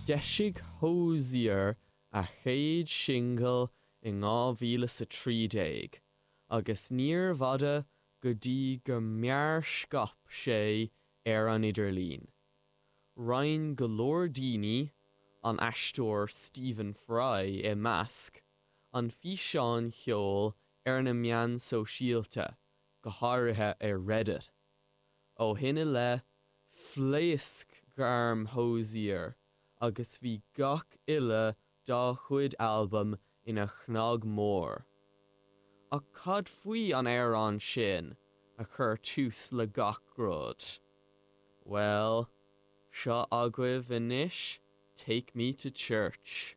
D'eisigh Hozier a chéad singil in 2013 agus níorbh fhada go dtí go mearscaip sé ar an idirlíon. Roinn go leor daoine, an aisteoir Stephen Fry i measc, an físeán ceoil ar na meáin sóisialta, go háirithe ar Reddit. Ó shin i leith, phléasc gairm Hozier agus bhí gach uile dá chuid albam ina chnag mór. Ach cad faoi an amhrán sin a chuir tús le gach rud? Bhuel, seo agaibh anois Take Me to Church.